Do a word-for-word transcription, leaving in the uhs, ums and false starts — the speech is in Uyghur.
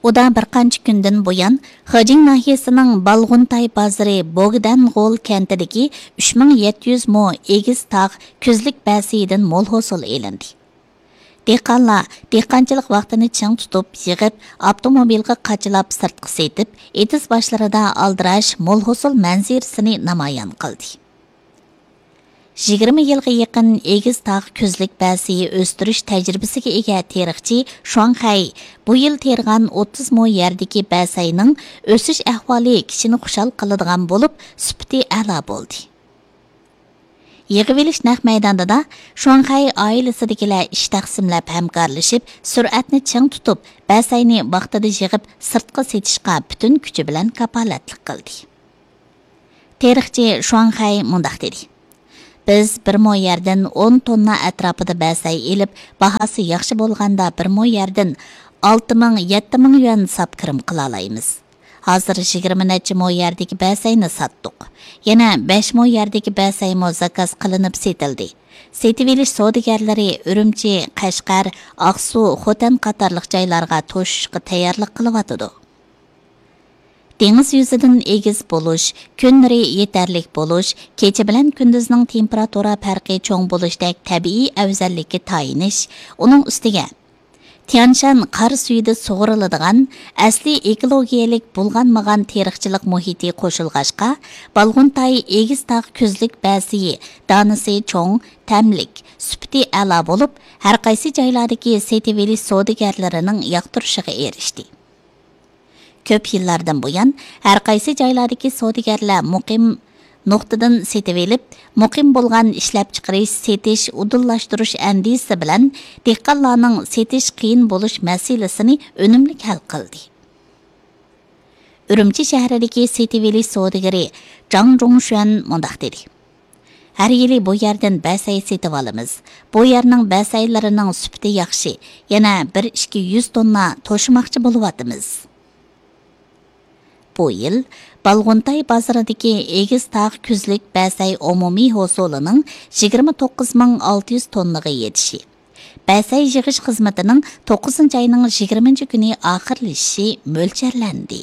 ئۇدا بىر قانچە كۈندىن بۇيان، خېجىڭ ناھىيەسىنىڭ بالغۇنتاي بازىرى بوگدەنغول كەنتىدىكى ئۈچ مىڭ يەتتە يۈز مو ئېگىز تاغ كۈزلۈك بەسىيىدىن مول ھوسۇل ئېلىندى. دېھقانلار دېھقانچىلىق ۋاقتىنى چىڭ تۇتۇپ يىغىپ، ئاپتوموبىلغا قاچىلاپ سىرتقا سېتىپ، ئېتىز باشلىرىدا ئالدىراش مول ھوسۇل مەنزىرىسىنى نامايان قىلدى. يىگىرمە يىلغا يېقىن ئېگىز تاغ كۈزلۈك بەسىيى ئۆستۈرۈش تەجرىبىسىگە ئىگە تېرىقچى شۇاڭخەي بۇ يىل تېرىغان ئوتتۇز مو يەردىكى بەسەينىڭ ئۆسۈش ئەھۋالى كىشىنى خۇشال قىلىدىغان بولۇپ، سۈپىتى ئەلا بولدى. يىغىۋېلىش نەق مەيدانىدا شۇاڭخەي ئائىلىسىدىكىلەر ئىش تەقسىملەپ ھەمكارلىشىپ، سۈرئەتنى چىڭ تۇتۇپ، بەسەينى ۋاقتىدا يىغىپ سىرتقا سېتىشقا پۈتۈن كۈچى بىلەن كاپالەتلىك قىلدى. تېرىقچى شۇاڭخەي مۇنداق دېدى: بىز بىر مو يەردىن ئون توننا ئەتراپىدا بەسەي ئېلىپ، باھاسى ياخشى بولغاندا بىر مو يەردىن ئالتە مىڭ، يەتتە مىڭ يۈەن ساپ كىرىم قىلالايمىز. ھازىر يىگىرمە نەچچە مو يەردىكى بەسەينى ساتتۇق. يەنە بەش مو يەردىكى بەسەيمۇ زاكاز قىلىنىپ سېتىلدى. سېتىۋېلىش سودىگەرلىرى ئۈرۈمچى، قەشقەر، ئاقسۇ، خوتەن قاتارلىق جايلارغا توشۇشقا تەييارلىق قىلىۋاتىدۇ. دېڭىز يۈزىدىن ئېگىز بولۇش، كۈنلىرى يېتەرلىك بولۇش، كېچە بىلەن كۈندۈزنىڭ تېمپېراتۇرا پەرقى چوڭ بولۇشتەك تەبىئىي ئەۋزەللىككە تايىنىش، ئۇنىڭ ئۈستىگە تيانشان قار سۈيىدە سۇغىرىلىدىغان ئەسلىي ئېكولوگىيەلىك بۇلغانمىغان تېرىقچىلىق مۇھىتى قوشۇلغاچقا، بالغۇنتاي ئېگىز تاغ كۈزلۈك بەسىيى دانىسى چوڭ، تەملىك، سۈپىتى ئەلا بولۇپ، ھەرقايسى جايلاردىكى سېتىۋېلىش سودىگەرلىرىنىڭ ياقتۇرۇشىغا ئېرىشتى. كۆپ يىللاردىن بۇيان، ھەرقايسى جايلاردىكى سودىگەرلەر مۇقىم نۇقتىدىن سېتىۋېلىپ، مۇقىم بولغان ئىشلەپچىقىرىش، سېتىش، ئۇدۇللاشتۇرۇش ئەندىزىسى بىلەن دېھقانلارنىڭ سېتىش قىيىن بولۇش مەسىلىسىنى ئۈنۈملۈك ھەل قىلدى. ئۈرۈمچى شەھىرىدىكى سېتىۋېلىش سودىگىرى جاڭ جۇڭشۈەن مۇنداق دېدى: ھەر يىلى بۇ يەردىن بەسەي سېتىۋالىمىز. بۇ يەرنىڭ بەسەيلىرىنىڭ سۈپىتى ياخشى، يەنە بىر ئىككى يۈز توننا توشۇماقچى بولۇۋاتىمىز. بۇ يىل بالغۇنتاي بازىرىدىكى ئېگىز تاغ كۈزلۈك بەسەي ئومۇمىي ھوسۇلىنىڭ يىگىرمە توققۇز مىڭ ئالتە يۈز توننىغا يېتىشى، بەسەي يىغىش خىزمىتىنىڭ توققۇزىنچى ئاينىڭ يىگىرمىنچى كۈنى ئاخىرلىشىشى مۆلچەرلەندى.